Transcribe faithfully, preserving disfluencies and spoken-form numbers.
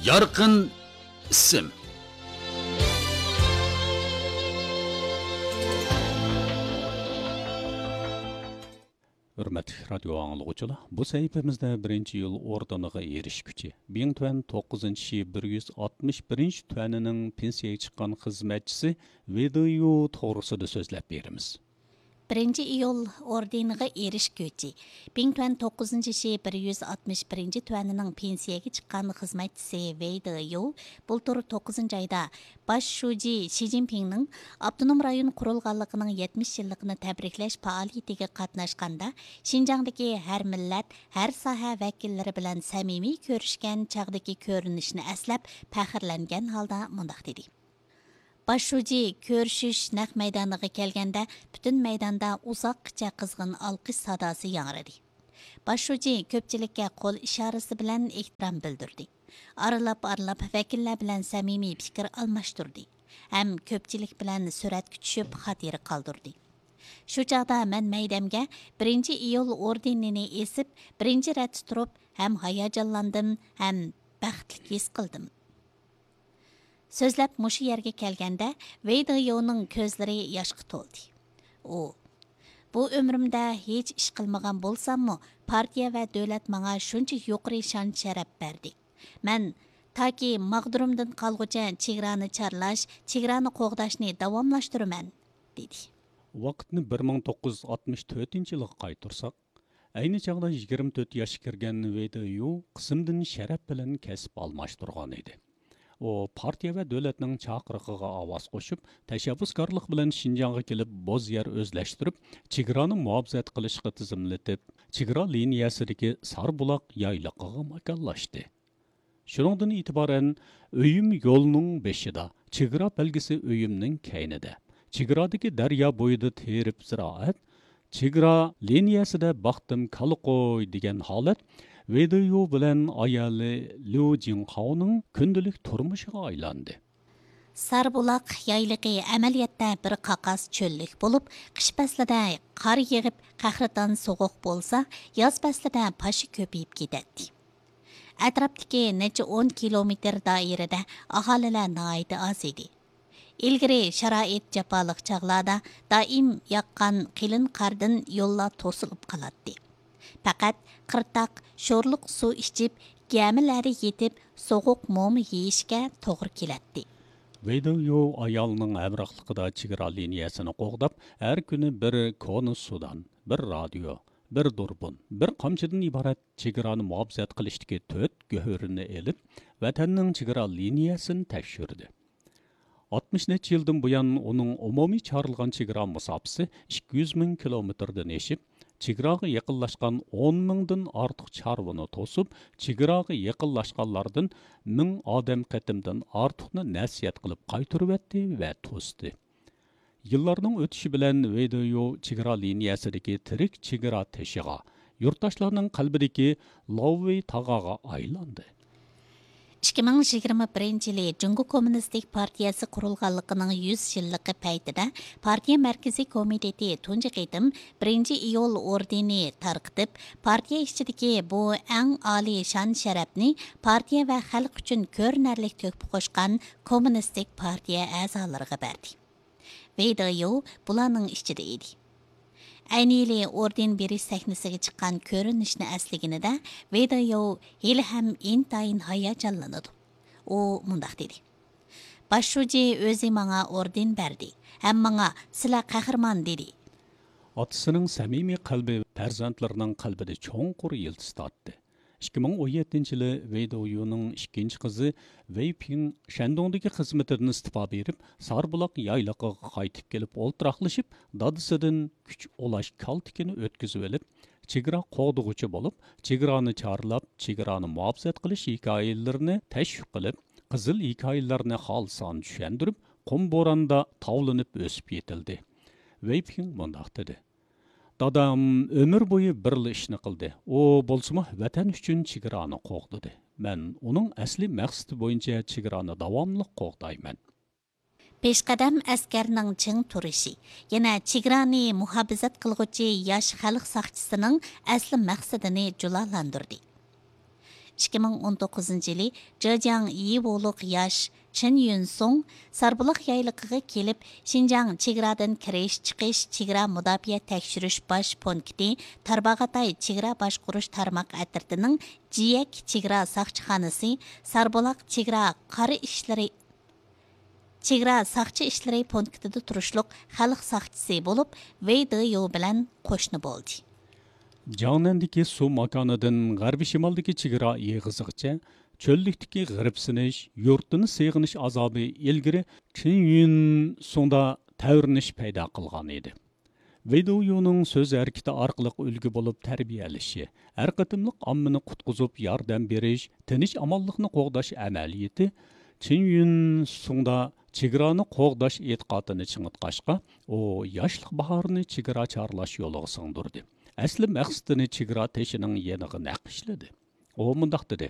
يارقىن ئىسىم. ھۆرمەتلىك رادىيو ئاڭلىغۇچىلار، بۇ سەھىپىمىزدە بىرىنچى ئىيۇل ئوردېنىغا ئېرىشكۈچى، بىڭتۈەن توققۇزىنچى شى بىر يۈز ئاتمىش بىرىنچى تۈەنىنىڭ پېنسىيەگە چىققان خىزمەتچىسى ۋېي دېيۇ توغرىسىدا سۆزلەپ بېرىمىز. بىرىنچى ئىيۇل ئوردېنىغا ئېرىشكۈچى، بىڭتۈەن توققۇزىنچى شى بىر يۈز ئاتمىش بىرىنچى تۈەنىنىڭ پېنسىيەگە چىققان خىزمەتچىسى ۋېي دېيۇ بۇلتۇر توققۇزىنچى ئايدا باش شۇجى شى جىنپىڭنىڭ ئاپتونوم رايون قۇرۇلغانلىقىنىڭ يەتمىش يىللىقىنى تەبرىكلەش پائالىيىتىگە قاتناشقاندا، شىنجاڭدىكى ھەر مىللەت، ھەر ساھە ۋەكىللىرى بىلەن سەمىمىي كۆرۈشكەن چاغدىكى كۆرۈنۈشىنى ئەسلەپ، پەخىرلەنگەن ھالدا مۇنداق دېدى. باش شۇجى كۆرۈشۈش نەق مەيدانىغا كەلگەندە، پۈتۈن مەيداندا ئۇزاققىچە قىزغىن ئالقىش ساداسى ياڭرىدى. باش شۇجى كۆپچىلىككە قول ئىشارىسى بىلەن ئېھتىرام بىلدۈردى. ئارىلاپ-ئارىلاپ ۋەكىللەر بىلەن سەمىمىي پىكىر ئالماشتۇردى ھەم كۆپچىلىك بىلەن سۈرەتكە چۈشۈپ، خاتىرە قالدۇردى. شۇ چاغدا مەن مەيدەمگە بىرىنچى ئىيۇل ئوردېنىنى ئېسىپ، بىرىنچى رەتتە تۇرۇپ، ھەم ھاياجانلاندىم، ھەم بەختلىك ھېس قىلدىم. سۆزلەپ مۇشۇ يەرگە كەلگەندە، ۋېي دېيۇنىڭ كۆزلىرى ياشقا تولدى. ئۇ، بۇ ئۆمرۈمدە ھېچ ئىش قىلمىغان بولساممۇ، پارتىيە ۋە دۆلەت ماڭا شۇنچە يۇقىرى شان-شەرەپ بەردى. مەن تاكى ماغدۇرۇمدىن قالغۇچە چېگرانى چارلاش، چېگرانى قوغداشنى داۋاملاشتۇرىمەن، دېدى. ۋاقىتنى بىر مىڭ توققۇز يۈز ئاتمىش تۆتىنچى يىلغا قايتۇرساق، ئەينى چاغدا يىگىرمە تۆت ياشقا كىرگەن ۋېي دېيۇ قىسىمدىن شەرەپ بىلەن كەسىپ ئالماشتۇرغان ئىدى. ئۇ پارتىيە ۋە دۆلەتنىڭ چاقىرىقىغا ئاۋاز قوشۇپ، تەشەببۇسكارلىق بىلەن شىنجاڭغا كېلىپ، بوز يەر ئۆزلەشتۈرۈپ، چېگرانى مۇھاپىزەت قىلىشقا تىزىملىتىپ، چېگرا لىنىيەسىدىكى ساربۇلاق يايلىقىغا ماكانلاشتى. شۇنىڭدىن ئېتىبارەن، ئۆيۈم يولنىڭ بېشىدا، چېگرا بەلگىسى ئۆيۈمنىڭ كەينىدە، چېگرادىكى دەريا بويىدا تېرىپ زىرائەت، چېگرا لىنىيەسىدە باقتىم كالا قوي دېگەن ھالەت ۋېي دېيۇ بىلەن ئايالى ليۇ جىڭخاۋنىڭ كۈندىلىك تۇرمۇشىغا ئايلاندى. ساربۇلاق يايلىقى ئەمەلىيەتتە بىر قاقاس چۆللۈك بولۇپ، قىش پەسلىدە قار يېغىپ، قەھرىتان سوغۇق بولسا، ياز پەسلىدە پاشا كۆپىيىپ كېتەتتى. ئەتراپتىكى نەچچە ئون كىلومېتىر دائىرىدە ئاھالىلەر ناھايىتى ئاز ئىدى. ئىلگىرى شارائىت جاپالىق چاغلاردا دائىم ياغقان قېلىن قاردىن يوللار توسۇلۇپ قالاتتى. پەقەت قىرتاق، شورلۇق سۇ ئىچىپ، گەمىلەردە يېتىپ، سوغۇق موما يېيىشكە توغرا كېلەتتى. ۋېي دېيۇ ئايالىنىڭ ھەمراھلىقىدا چېگرا لىنىيەسىنى قوغداپ، ھەر كۈنى بىر كونا سۇدان، بىر رادىيو، بىر دۇربۇن، بىر قامچىدىن ئىبارەت چېگرانى مۇھاپىزەت قىلىشتىكى تۆت گۆھىرىنى ئېلىپ، ۋەتەننىڭ چېگرا لىنىيەسىنى تەكشۈردى. ئاتمىش نەچچە يىلدىن بۇيان، ئۇنىڭ ئومۇمىي چارلىغان چېگرا مۇساپىسى ئىككى يۈز مىڭ كىلومېتىردىن ئېشىپ، چېگراغا يېقىنلاشقان ئون مىڭدىن ئارتۇق چارۋىنى توسۇپ، چېگراغا يېقىنلاشقانلاردىن مىڭ ئادەم قېتىمدىن ئارتۇقنى نەسىھەت قىلىپ قايتۇرۇۋەتتى ۋە توستى. يىللارنىڭ ئۆتۈشى بىلەن ۋېي دېيۇ چېگرا لىنىيەسىدىكى تىرىك چېگرا تېشىغا، يۇرتداشلارنىڭ قەلبىدىكى لاۋۋېي تاغاغا ئايلاندى. ئىككى مىڭ يىگىرمە بىرىنچى يىلى جۇڭگو كوممۇنىستىك پارتىيەسى قۇرۇلغانلىقىنىڭ يۈز يىللىقى پەيتىدە، پارتىيە مەركىزىي كومىتېتى تۇنجى قېتىم بىرىنچى ئىيۇل ئوردېنى تارقىتىپ، پارتىيە ئىچىدىكى بۇ ئەڭ ئالىي شان-شەرەپنى پارتىيە ۋە خەلق ئۈچۈن كۆرۈنەرلىك تۆھپە قوشقان كوممۇنىستىك پارتىيە ئەزالىرىغا بەردى. ۋېي دېيۇ بۇلارنىڭ ئىچىدە ئىدى. ئەينى يىلى ئوردېن بېرىش سەھنىسىگە چىققان كۆرۈنۈشنى ئەسلىگىنىدە، ۋېي دېيۇ ھېلىھەم ئىنتايىن ھاياجانلىنىدۇ. ئۇ مۇنداق دېدى: «باش شۇجى ئۆزى ماڭا ئوردېن بەردى ھەم ماڭا، 'سىلەر قەھرىمان!' دېدى.» ئاتىسىنىڭ سەمىمىي قەلبى پەرزەنتلىرىنىڭ قەلبىدە چوڭقۇر يىلتىز تارتتى. ئىككى مىڭ ئون يەتتىنچى يىلى ۋېي دېيۇنىڭ ئىككىنچى قىزى ۋېي پىڭ شەندۇڭدىكى خىزمىتىدىن ئىستېپا بېرىپ، ساربۇلاق يايلىقىغا قايتىپ كېلىپ ئولتۇراقلىشىپ، دادىسىدىن كۈچ ئۇلاش كالتىكىنى ئۆتكۈزۈۋېلىپ، چېگرا قوغدىغۇچى بولۇپ، چېگرانى چارلاپ، چېگرانى مۇھاپىزەت قىلىش ھېكايىلىرىنى تەشۋىق قىلىپ، قىزىل ھېكايىلەرنى خالىسان چۈشەندۈرۈپ، قۇم بوراندا تاۋلىنىپ ئۆسۈپ يېتىلدى. ۋېي پىڭ مۇنداق دېدى: «دادام ئۆمۈر بويى بىرلا ئىشنى قىلدى. ئۇ بولسىمۇ ۋەتەن ئۈچۈن چېگرانى قوغدىدى. مەن ئۇنىڭ ئەسلىي مەقسىتى بويىچە چېگرانى داۋاملىق قوغدايمەن.» پېشقەدەم ئەسكەرنىڭ چىڭ تۇرۇشى يەنە چېگرانى مۇھاپىزەت قىلغۇچى ياش خەلق ساقچىسىنىڭ ئەسلى مەقسىتىنى جۇلالاندۇردى. ئىككى مىڭ ئون توققۇزىنچى يىلى جېجياڭ يىۋولۇق ياش چېن يۈنسۇڭ ساربۇلاق يايلىقىغا كېلىپ، شىنجاڭ چېگرادىن كىرىش، چىقىش، چېگرا مۇداپىئە تەكشۈرۈش باش پونكىتى، تارباغاتاي چېگرا باشقۇرۇش تارماق ئەترىتىنىڭ جىيەك چېگرا ساقچىخانىسى، ساربۇلاق چېگرا قارا ئىشلىرى چېگرا ساقچى ئىشلىرى پونكىتىدا تۇرۇشلۇق خەلق ساقچىسى بولۇپ، ۋېي دېيۇ بىلەن قوشنا بولدى. جاڭنەندىكى سۇ ماكانىدىن غەربىي شىمالدىكى چېگرا ئېغىزىغىچە چۆللۈكتىكى غېرىبسىنىش، يۇرتىنى سېغىنىش ئازابى ئىلگىرى چېن يۈنسۇڭدا تەۋرىنىش پەيدا قىلغان ئىدى. ۋېي دېيۇنىڭ سۆز ھەرىكىتى ئارقىلىق ئۈلگە بولۇپ تەربىيەلىشى، ھەر قېتىملىق ئاممىنى قۇتقۇزۇپ ياردەم بېرىش، تىنچ-ئامانلىقنى قوغداش ئەمەلىيىتى چېن يۈنسۇڭدا چېگرانى قوغداش ئېتىقادىنى چىڭىتقاچقا، ئۇ ياشلىق باھارىنى چېگرا چارلاش يولىغا سىڭدۈردى. ئەسلى مەقسىتىنى چېگرا تېشىنىڭ يېنىغا نەقىشلىدى. ئۇ مۇنداق دېدى: